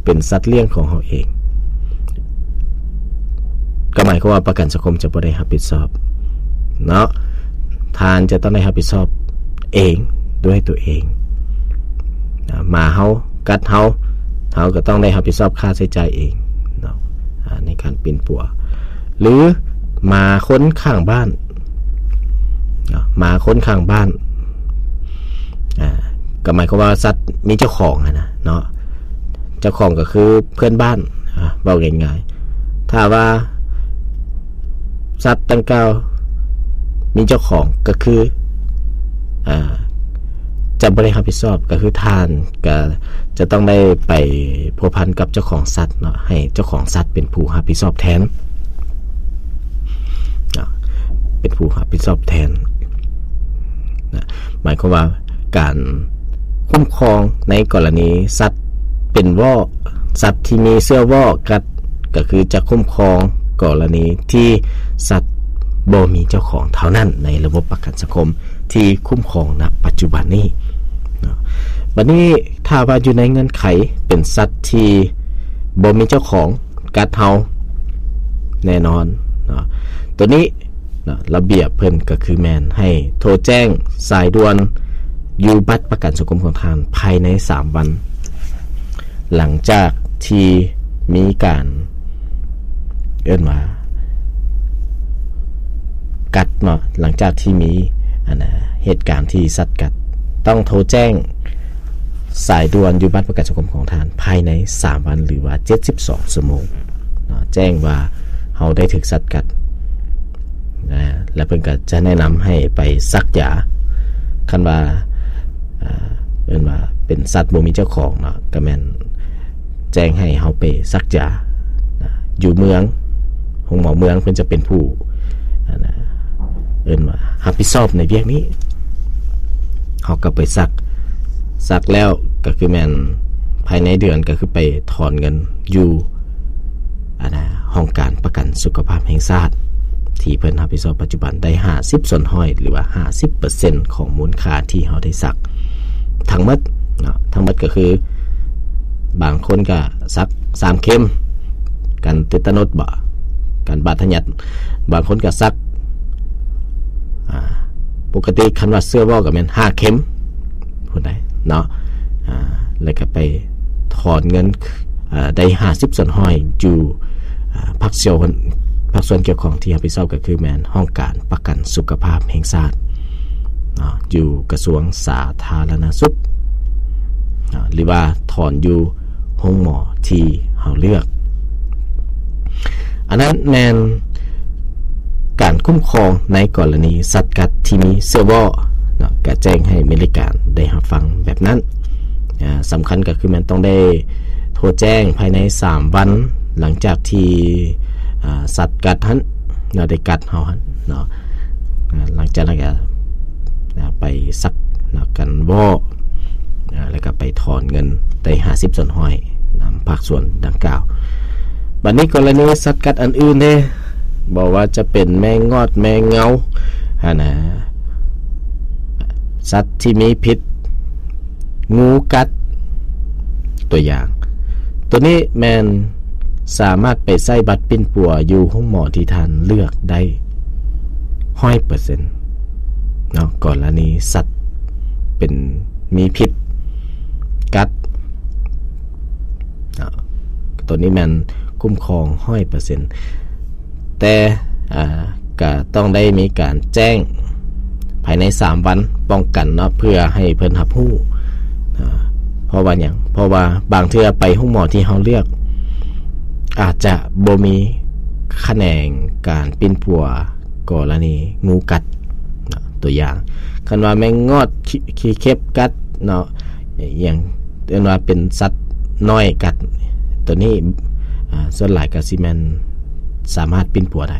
ເປັນສັດລ້ຽງຂອງເຮົາເອງ ກໍໝາຍຄວາມວ່າປະກັນສັງຄົມຈະບໍ່ໄດ້ຮັບຜິດຊອບເນາະ. ທ່ານຈະຕ້ອງໄດ້ຮັບຜິດຊອບເອງ ດ້ວຍຕົວເອງ. ອາ ໝາເຮົາກັດເຮົາ ເຮົາກໍຕ້ອງໄດ້ຮັບຜິດຊອບຄ່າໃຊ້ຈ່າຍເອງເນາະ ອາ ໃນການປິ່ນປົວ ຫຼືໝາຄົນຂ້າງບ້ານເນາະ ໝາຄົນຂ້າງບ້ານ ອາ ກໍໝາຍຄວາມວ່າສັດມີເຈົ້າຂອງຫັ້ນນະເນາະ ເຈົ້າຂອງກໍຄືເພື່ອນບ້ານ ອາ ເວົ້າງ່າຍໆ ຖ້າວ່າສັດດັ່ງກ່າວມີເຈົ້າຂອງ ກໍຄື ອາ ຈະບໍ່ໄດ້ຮັບຜິດຊອບ ກໍຄືທ່ານກໍຈະຕ້ອງໄດ້ໄປພົວພັນກັບເຈົ້າຂອງສັດເນາະ ໃຫ້ເຈົ້າຂອງສັດເປັນຜູ້ຮັບຜິດຊອບແທນເນາະ ເປັນຜູ້ຮັບຜິດຊອບແທນນະ. ໝາຍຄວາມວ່າການຄຸ້ມຄອງໃນກໍລະນີສັດເປັນວໍ້ ສັດທີ່ມີເຊື້ອວໍ້ກັດ ກໍຄືຈະຄຸ້ມຄອງກໍລະນີທີ່ສັດບໍ່ມີເຈົ້າຂອງເທົ່ານັ້ນ ໃນລະບົບປະກັນສັງຄົມທີ່ຄຸ້ມຄອງນະປັດຈຸບັນນີ້ເນາະ. ບັດນີ້ຖ້າວ່າຢູ່ໃນເງື່ອນໄຂເປັນສັດທີ່ບໍ່ມີເຈົ້າຂອງກັດເຮົາ ແນ່ນອນເນາະ ໂຕນີ້ເນາະ ລະບຽບເພິ່ນກໍຄືແມ່ນໃຫ້ໂທແຈ້ງສາຍດ່ວນຢູ່ບັດປະກັນສັງຄົມຂອງທ່ານພາຍໃນສາມວັນ ຫຼັງຈາກທີ່ມີການ ເອີ້ນວ່າກັດເນາະ ຫຼັງຈາກທີ່ມີ ອັນນະ ເຫດການທີ່ສັດກັດ ຕ້ອງໂທແຈ້ງສາຍດ່ວນຢູ່ບັດປະກັນສັງຄົມຂອງທ່ານພາຍໃນສາມວັນ ຫຼືວ່າເຈັດສິບສອງຊົ່ວໂມງເນາະ ແຈ້ງວ່າເຮົາໄດ້ຖືກສັດກັດ ອາ ແລ້ວເພິ່ນກໍຈະແນະນຳໃຫ້ໄປສັກຢາ. ຄັນວ່າ ອາ ເອີ້ນວ່າເປັນສັດບໍ່ມີເຈົ້າຂອງເນາະ ກໍແມ່ນແຈ້ງໃຫ້ເຮົາໄປສັກຢານະ ຢູ່ເມືອງ ໂຮງໝໍເມືອງເພິ່ນຈະເປັນຜູ້ ອັນນະ ເອີ້ນວ່າຮັບຜິດຊອບໃນວຽກນີ້. ເຮົາກໍໄປສັກ ສັກແລ້ວກໍຄືແມ່ນພາຍໃນເດືອນ ກໍຄືໄປຖອນເງິນຢູ່ ອັນນະ ຫ້ອງການປະກັນສຸຂະພາບແຫ່ງຊາດ ທີ່ເພິ່ນຮັບຜິດຊອບປັດຈຸບັນໄດ້ຫ້າສິບສ່ວນຮ້ອຍ ຫຼືວ່າຫ້າສິບເປີເຊັນຂອງມູນຄ່າທີ່ເຮົາໄດ້ສັກທັງໝົດເນາະ. ທັງໝົດກໍຄື ບາງຄົນກໍສັກສາມເຂັມ ກັນເຕຕານົດບໍ ກັນບາດທະຍັດ, ບາງຄົນກໍສັກ ອາ ປົກກະຕິຄັນວ່າເຊື້ອວໍ້ກໍແມ່ນຫ້າເຂັມ ຜູ້ໃດເນາະ ອາ ແລ້ວກໍໄປຖອນເງິນ ອາ ໄດ້ຫ້າສິບສ່ວນຮ້ອຍຢູ່ ອາ ພາກສ່ວນ ພາກສ່ວນກ່ຽວຂ້ອງທີ່ຮັບຜິດຊອບກໍຄືແມ່ນຫ້ອງການປະກັນສຸຂະພາບແຫ່ງຊາດເນາະ ຢູ່ກະຊວງສາທາລະນະສຸກເນາະ ຫຼືວ່າຖອນຢູ່ໂຮງໝໍທີ່ເຮົາເລືອກ. ອັນນັ້ນແມ່ນການຄຸ້ມຄອງໃນກໍລະນີສັດກັດທີ່ມີເຊື້ອວໍ້ເນາະ ກະແຈ້ງໃຫ້ບໍລິການໄດ້ຮັບຟັງແບບນັ້ນ. ອາ ສຳຄັນກໍຄືແມ່ນຕ້ອງໄດ້ໂທແຈ້ງພາຍໃນສາມວັນ ຫຼັງຈາກທີ່ ອາ ສັດກັດຫັ້ນເນາະ ໄດ້ກັດເຮົາຫັ້ນເນາະ ອາ ຫຼັງຈາກນັ້ນກໍ ອາ ໄປສັກເນາະ ກັນວໍ້ ອາ ແລ້ວກໍໄປຖອນເງິນໄດ້ຫ້າສິບສ່ວນຮ້ອຍນຳພາກສ່ວນດັ່ງກ່າວ. ບັດນີ້ກໍລະນີສັດກັດອັນອື່ນເດ້ ບໍ່ວ່າຈະເປັນແມງງອດ ແມງເງົາຫັ້ນນະ ສັດທີ່ມີພິດ ງູກັດ ຕົວຢ່າງ ໂຕນີ້ແມ່ນສາມາດໄປໃຊ້ບັດປິ່ນປົວຢູ່ໂຮງໝໍທີ່ທ່ານເລືອກໄດ້ຮ້ອຍເປີເຊັນເນາະ ກໍລະນີສັດເປັນ ມີພິດກັດເນາະ ໂຕນີ້ແມ່ນຄຸ້ມຄອງຮ້ອຍເປີເຊັນ ແຕ່ ອາ ກະຕ້ອງໄດ້ມີການແຈ້ງພາຍໃນສາມວັນປ້ອງກັນເນາະ ເພື່ອໃຫ້ເພິ່ນຮັບຮູ້. ອາ ເພາະວ່າຫຍັງ? ເພາະວ່າບາງເທື່ອໄປໂຮງໝໍທີ່ເຮົາເລືອກ ອາດຈະບໍ່ມີຂະແໜງການປິ່ນປົວກໍລະນີງູກັດເນາະ ຕົວຢ່າງ ຄັນວ່າແມງງອດ ຂີ້ ຂີ້ເຂັບກັດເນາະ ອີ່ຫຍັງ ເອີ້ນວ່າເປັນສັດນ້ອຍກັດ ໂຕນີ້ ອາ ສ່ວນຫຼາຍກໍຊິແມ່ນສາມາດປິ່ນປົວໄດ້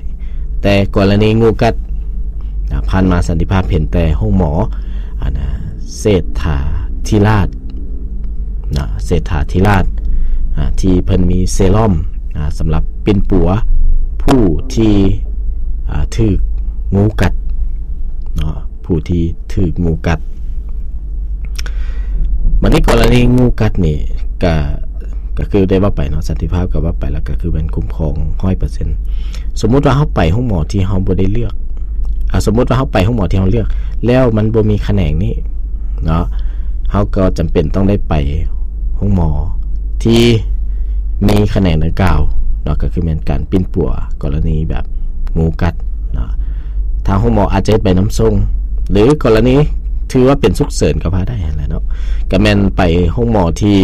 ແຕ່ກໍລະນີງູກັດ ອາ ຜ່ານມາສັນຕິພາບເຫັນແຕ່ໂຮງໝໍ ອັນນາ ເສດຖາທິລາດເນາະ ເສດຖາທິລາດ ອາ ທີ່ເພິ່ນມີເຊຣອມ ອາ ສຳລັບປິ່ນປົວຜູ້ທີ່ ອາ ຖືກງູກັດເນາະ ຜູ້ທີ່ຖືກງູກັດ. ບັດນີ້ກໍລະນີງູກັດນີ້ ກະ ກໍຄືໄດ້ເວົ້າໄປເນາະ ສັນຕິພາບກໍເວົ້າໄປແລ້ວ ກໍຄືແມ່ນຄຸ້ມຄອງຮ້ອຍເປີເຊັນ. ສົມມຸດວ່າເຮົາໄປໂຮງໝໍທີ່ເຮົາບໍ່ໄດ້ເລືອກ ອ່າ ສົມມຸດວ່າເຮົາໄປໂຮງໝໍທີ່ເຮົາເລືອກ ແລ້ວມັນບໍ່ມີຂະແໜງນີ້ເນາະ ເຮົາກໍຈຳເປັນຕ້ອງໄດ້ໄປໂຮງໝໍທີ່ມີຂະແໜງດັ່ງກ່າວເນາະ ກໍຄືແມ່ນການປິ່ນປົວກໍລະນີແບບ ງູກັດເນາະ ທາງໂຮງໝໍອາດຈະເຮັດໃບນຳສົ່ງ ຫຼື ກໍລະນີຖືວ່າເປັນສຸກເສີນກໍວ່າໄດ້ຫັ້ນແຫຼະເນາະ ກໍແມ່ນໄປໂຮງໝໍທີ່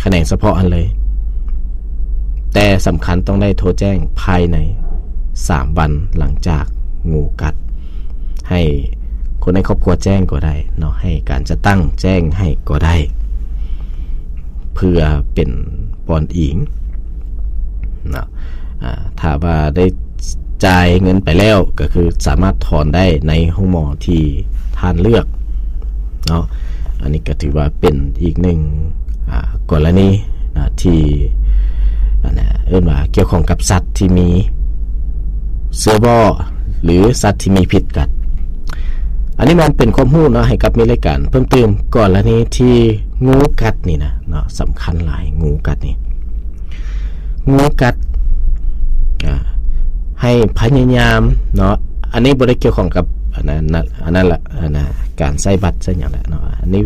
ຂະແໜງສະເພາະຫັ້ນເລີຍ. ແຕ່ສຳຄັນຕ້ອງໄດ້ໂທແຈ້ງພາຍໃນສາມວັນຫຼັງຈາກງູກັດ ໃຫ້ຄົນໃນຄອບຄົວແຈ້ງກໍໄດ້ເນາະ ໃຫ້ການຈັດຕັ້ງແຈ້ງໃຫ້ກໍໄດ້ ເພື່ອເປັນບ່ອນອີງເນາະ. ອາ ຖ້າວ່າໄດ້ຈ່າຍເງິນໄປແລ້ວ ກໍຄືສາມາດຖອນໄດ້ໃນໂຮງໝໍທີ່ທ່ານເລືອກເນາະ. ອັນນີ້ກໍຖືວ່າເປັນອີກໜຶ່ງ ອາ ກໍລະນີນະ ທີ່ ອັນນະ ເອີ້ນວ່າກ່ຽວຂ້ອງກັບສັດທີ່ມີເຊື້ອບໍ່ ຫຼື ສັດທີ່ມີພິດກັດ. ອັນນີ້ມັນເປັນຄວາມຮູ້ເນາະ ໃຫ້ກັບມີລາຍການເພີ່ມຕື່ມ ກໍລະນີທີ່ງູກັດນີ້ນະເນາະ ສຳຄັນຫຼາຍ ງູກັດນີ້ ງູກັດ ອາ ໃຫ້ພະຍາຍາມເນາະ ອັນນີ້ບໍ່ໄດ້ກ່ຽວຂ້ອງກັບ ອັນນັ້ນ ອັນນັ້ນລະ ອັນນະ ການໃຊ້ບັດໃຊ້ຫຍັງລະເນາະ ອັນນີ້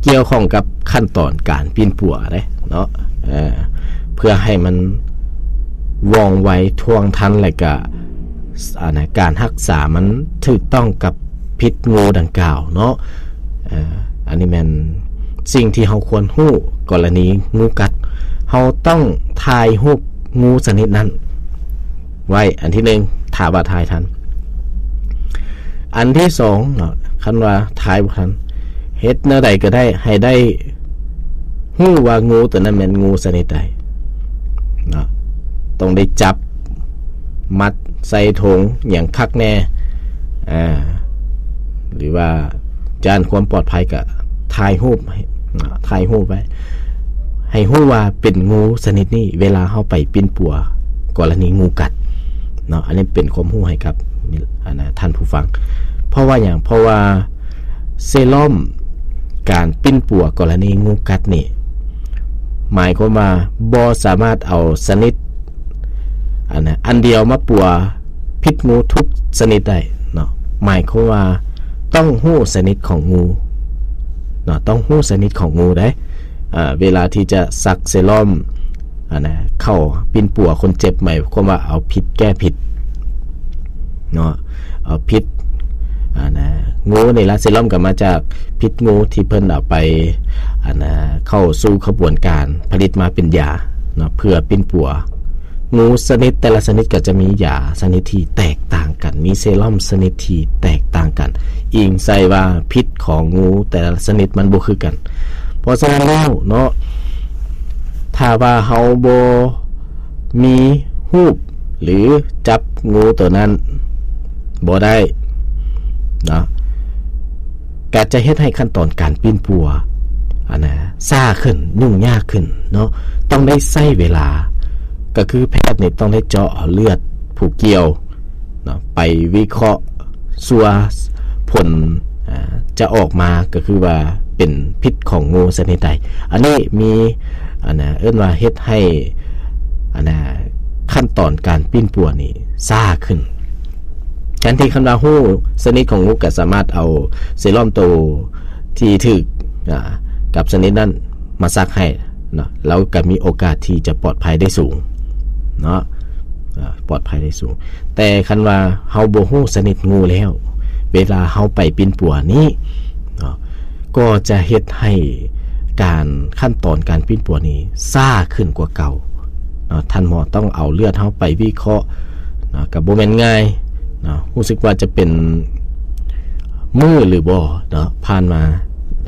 ກ່ຽວຂ້ອງກັບຂັ້ນຕອນການປິ່ນປົວເດ້ເນາະ ເອີ ເພື່ອໃຫ້ມັນວ່ອງໄວ ທ່ວງທັນ ແລະກະ ອັນນະ ການຮັກສາມັນຖືກຕ້ອງກັບພິດງູດັ່ງກ່າວເນາະ. ເອີ ອັນນີ້ແມ່ນສິ່ງທີ່ເຮົາຄວນຮູ້ ກໍລະນີງູກັດ ເຮົາຕ້ອງຖ່າຍຮູບງູຊະນິດນັ້ນໄວ້ ອັນທີໜຶ່ງ ຖ້າວ່າຖ່າຍທັນ. ອັນທີສອງເນາະ ຄັນວ່າຖ່າຍບໍ່ທັນ ເຮັດແນວໃດກໍໄດ້ ໃຫ້ໄດ້ຮູ້ວ່າງູຕົວນັ້ນແມ່ນງູຊະນິດໃດເນາະ ຕ້ອງໄດ້ຈັບ ມັດໃສ່ຖົງຫຍັງຄັກແນ່ ອາ ຫຼືວ່າຢ້ານຄວາມປອດໄພກໍຖ່າຍຮູບໃຫ້ ຖ່າຍຮູບໄວ້ ໃຫ້ຮູ້ວ່າເປັນງູຊະນິດນີ້ ເວລາເຮົາໄປປິ່ນປົວກໍລະນີງູກັດເນາະ. ອັນນີ້ເປັນຄວາມຮູ້ໃຫ້ກັບ ອັນນະ ທ່ານຜູ້ຟັງ. ເພາະວ່າຫຍັງ? ເພາະວ່າເຊຣອມການປິ່ນປົວກໍລະນີງູກັດນີ້ ໝາຍຄວາມວ່າບໍ່ສາມາດເອົາຊະນິດ ອັນນະ ອັນດຽວມາປົວພິດງູທຸກຊະນິດໄດ້ເນາະ. ໝາຍຄວາມວ່າຕ້ອງຮູ້ຊະນິດຂອງງູເນາະ ຕ້ອງຮູ້ຊະນິດຂອງງູເດ້. ອາ ເວລາທີ່ຈະສັກເຊຣອມ ອັນນະ ເຂົ້າປິ່ນປົວຄົນເຈັບ ໝາຍຄວາມວ່າເອົາພິດແກ້ພິດເນາະ ເອົາພິດ ອັນນະ ງູນີ້ລະ ເຊຣອມກໍມາຈາກພິດງູທີ່ເພິ່ນເອົາໄປ ອັນນະ ເຂົ້າສູ່ຂະບວນການຜະລິດມາເປັນຢາເນາະ ເພື່ອປິ່ນປົວ. ງູຊະນິດ ແຕ່ລະຊະນິດກໍຈະມີຢາຊະນິດທີ່ແຕກຕ່າງກັນ ມີເຊຣອມຊະນິດທີ່ແຕກຕ່າງກັນ ອີງໃສ່ວ່າພິດຂອງງູແຕ່ລະຊະນິດມັນບໍ່ຄືກັນ. ເພາະສະນັ້ນແລ້ວເນາະ ຖ້າວ່າເຮົາບໍ່ມີຮູບ ຫຼື ຈັບງູໂຕນັ້ນບໍ່ໄດ້ເນາະ ກໍຈະເຮັດໃຫ້ຂັ້ນຕອນການປິ່ນປົວ ອັນນະ ຊ້າຂຶ້ນ ຫຍຸ້ງຍາກຂຶ້ນເນາະ ຕ້ອງໄດ້ໃຊ້ເວລາ ກໍຄືແພດນີ້ຕ້ອງໄດ້ເຈາະເອົາເລືອດຜູ້ກ່ຽວເນາະ ໄປວິເຄາະ ສ່ວນຜົນ ອາ ຈະອອກມາກໍຄືວ່າເປັນພິດຂອງງູຊະນິດໃດ. ອັນນີ້ມີ ອັນນະ ເອີ້ນວ່າເຮັດໃຫ້ ອັນນະ ຂັ້ນຕອນການປິ່ນປົວນີ້ຊ້າຂຶ້ນ. ແທນທີ່ຄັນວ່າຮູ້ຊະນິດຂອງງູ ກໍສາມາດເອົາເຊຣອມໂຕທີ່ຖືກ ອາ ກັບຊະນິດນັ້ນມາສັກໃຫ້ເນາະ ລາວກໍມີໂອກາດທີ່ຈະປອດໄພໄດ້ສູງເນາະ ອາ ປອດໄພໄດ້ສູງ. ແຕ່ຄັນວ່າເຮົາບໍ່ຮູ້ຊະນິດງູແລ້ວ ເວລາເຮົາໄປປິ່ນປົວນີ້ເນາະ ກໍຈະເຮັດໃຫ້ການ ຂັ້ນຕອນການປິ່ນປົວນີ້ຊ້າຂຶ້ນກວ່າເກົ່າເນາະ. ທ່ານໝໍຕ້ອງເອົາເລືອດເຮົາໄປວິເຄາະເນາະ ກໍບໍ່ແມ່ນງ່າຍເນາະ. ຮູ້ສຶກວ່າຈະເປັນມື້ຫຼືບໍ່ເນາະ ຜ່ານມາ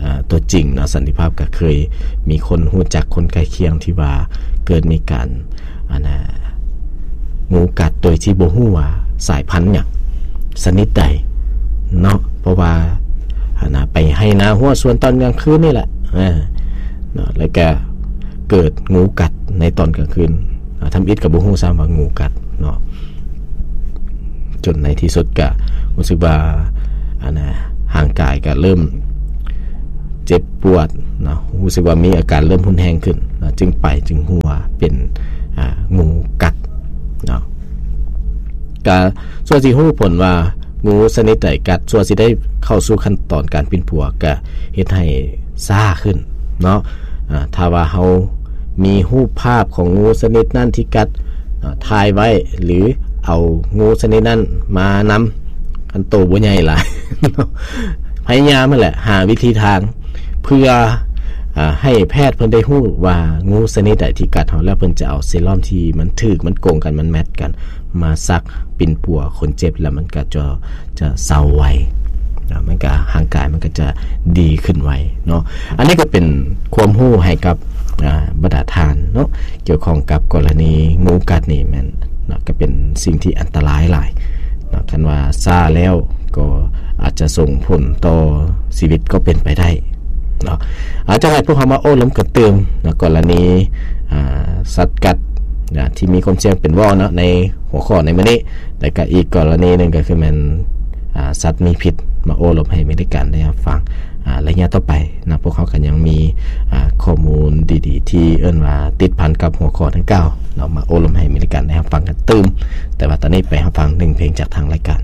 ອາ ຕົວຈິງເນາະ ສັນຕິພາບກໍເຄີຍມີຄົນຮູ້ຈັກ ຄົນໃກ້ຄຽງທີ່ວ່າເກີດມີການ ອັນນະ ງູກັດໂດຍທີ່ບໍ່ຮູ້ວ່າສາຍພັນຫຍັງ ຊະນິດໃດເນາະ. ເພາະວ່າ ອັນນະ ໄປໄຮ່ນາຮົ້ວສວນຕອນກາງຄືນນີ້ແຫຼະ ເນາະ ແລ້ວກະເກີດງູກັດໃນຕອນກາງຄືນ ອາ ທຳອິດກໍບໍ່ຮູ້ຊ້ຳວ່າງູກັດເນາະ. ຈົນໃນທີ່ສຸດກະຮູ້ສຶກວ່າ ອັນນະ ຮ່າງກາຍກະເລີ່ມເຈັບປວດເນາະ ຮູ້ສຶກວ່າມີອາການເລີ່ມຮຸນແຮງຂຶ້ນ. ຈຶ່ງໄປ ຈຶ່ງຮູ້ວ່າເປັນ ອ່າ ງູກັດເນາະ. ກະສ່ວນຊິຮູ້ຜົນວ່າງູຊະນິດໃດກັດ ສ່ວນຊິໄດ້ເຂົ້າສູ່ຂັ້ນຕອນການປິ່ນປົວ ກະເຮັດໃຫ້ຊ້າຂຶ້ນເນາະ. ອ່າ ຖ້າວ່າເຮົາມີຮູບພາບຂອງງູຊະນິດນັ້ນທີ່ກັດ ອ່າ ຖ່າຍໄວ້ ຫຼື ເອົາງູຊະນິດນັ້ນມານຳ ຄັນໂຕບໍ່ໃຫຍ່ຫຼາຍເນາະ ພະຍາຍາມຫັ້ນແຫຼະ ຫາວິທີທາງ ເພື່ອ ອ່າ ໃຫ້ແພດເພິ່ນໄດ້ຮູ້ວ່າງູຊະນິດໃດທີ່ກັດເຮົາ ແລ້ວເພິ່ນຈະເອົາເຊຣອມທີ່ມັນຖືກ ມັນກົງກັນ ມັນແມັດກັນ ມາສັກປິ່ນປົວຄົນເຈັບ ແລ້ວມັນກະຈະ ຈະເຊົາໄວເນາະ ມັນກະ ຮ່າງກາຍມັນກະຈະດີຂຶ້ນໄວເນາະ. ອັນນີ້ກະເປັນຄວາມຮູ້ໃຫ້ກັບ ອ່າ ບັນດາທ່ານເນາະ ກ່ຽວຂ້ອງກັບກໍລະນີງູກັດນີ້ແມ່ນເນາະ ກະເປັນສິ່ງທີ່ອັນຕະລາຍຫຼາຍເນາະ ຄັນວ່າຊ້າແລ້ວກໍອາດຈະສົ່ງຜົນຕໍ່ຊີວິດກໍເປັນໄປໄດ້ເນາະ. ອາ ຈະໃຫ້ພວກເຮົາມາໂອ້ລົມກັນຕື່ມເນາະ ກໍລະນີ ອ່າ ສັດກັດ ອ່າ ທີ່ມີຄວາມສ່ຽງເປັນວໍເນາະ ໃນຫົວຂໍ້ໃນມື້ນີ້ ແລະກະອີກກໍລະນີໜຶ່ງກະຄືແມ່ນ ອ່າ ສັດມີພິດ ມາໂອ້ລົມໃຫ້ເມລິກັນໄດ້ຮັບຟັງ ອ່າ ໄລຍະຕໍ່ໄປເນາະ. ພວກເຮົາກະຍັງມີ ອ່າ ຂໍ້ມູນດີໆ ທີ່ເອີ້ນວ່າຕິດພັນກັບຫົວຂໍ້ດັ່ງກ່າວເນາະ ມາໂອ້ລົມໃຫ້ເມລິກັນໄດ້ຮັບຟັງກັນຕື່ມ. ແຕ່ວ່າຕອນນີ້ໄປຮັບຟັງໜຶ່ງເພງຈາກທາງລາຍການ.